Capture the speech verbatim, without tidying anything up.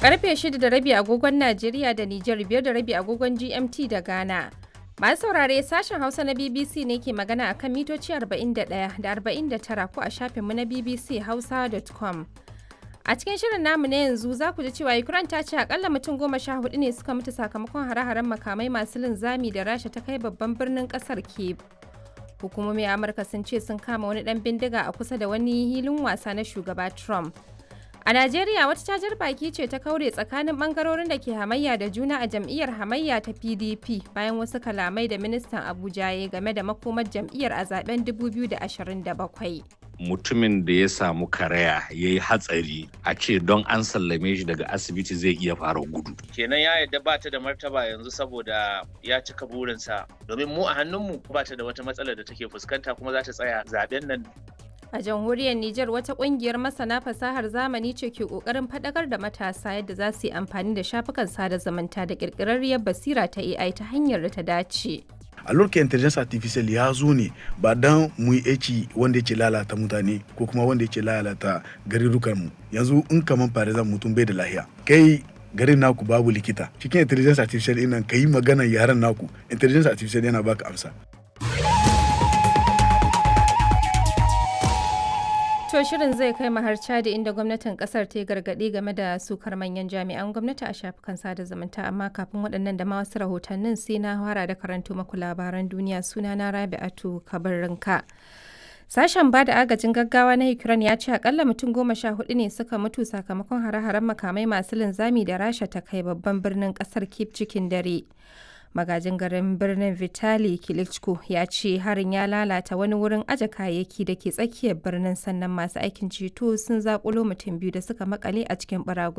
Karfe shida da rabi agogon Najeriya da Nijar, biyar da rabi agogon G M T da Ghana. Masu saurare, sashen Hausa na B B C ne ke magana akan mitoci arba'in da ɗaya da arba'in da tara ko a shafinmu na B B C Hausa dot com. A cikin shirin namu na yanzu za ku ji cewa Ukraine ta ce akalla mutum goma sha hudu ne suka mutu sakamakon hare-haren makamai masu linzami da Rasha ta kai babban birnin kasar Kyiv. Hukumomi a Amurka sun ce sun kama wani dan bindiga a kusa da wani hilin wasa na shugaba Trump. A Najeriya, wata cajar baki ce ta kaure tsakanin bangarorin da ke hamayya da juna a jam'iyyar hamayya ta P D P bayan wasu kalamai da ministan Abuja ya game da makomar jam'iyyar a zaben dubu biyu da ashirin da bakwai. Mutumin da ya samu karaya, ya yi hatsari, a ce don an sallame shi daga asibiti zai iya fara gudu. Kenan ya yarda ba ta da martaba yanzu saboda ya cika burinsa, domin mu a hannunmu ba ta da wata matsalar da take fuskanta, kuma za ta tsaya zaben nan. A jamhuriyar Nijar, wata kungiyar masana fasahar zamani ce ke kokarin faɗakar da matasa yadda za su yi amfani da shafukan sada zumunta da ƙirƙirarriyar basira ta A I ta hanyar da ta dace. A lokacin intelligence artificial ya zo ne ba dan mu yi aiki wanda yake lalata mutane ko kuma wanda yake lalata garurukan mu. Yanzu in kaman for example mutum bai da lahiya, kai garin naku babu likita, cikin intelligence artificial ɗin nan ka yi magana yaren naku, intelligence artificial yana baka amsa. To, shirin zai kai mu har Chadi, inda gwamnatin kasar ta yi gargaɗi game da sukar manyan jami'an gwamnati a shafukan sada zumunta, amma kafin waɗannan da ma wasu rahotannin sai na fara da karanto maku labaran duniya. Sunana Rabi'atu Kabarrinka. Sashen ba da agajin gaggawa na Ukraine ya ce akalla mutum goma sha hudu ne suka mutu sakamakon hare-haren makamai masu linzami da Rasha ta kai babban birnin kasar Kyiv cikin dare. Magajin garin birnin Vitali Klitschko ya ce harin ya lalata wani wurin aje kayayyaki da ke tsakiyar birnin, sannan masu aikin ceto sun zakulo mutum biyu da suka makale a cikin baragwai.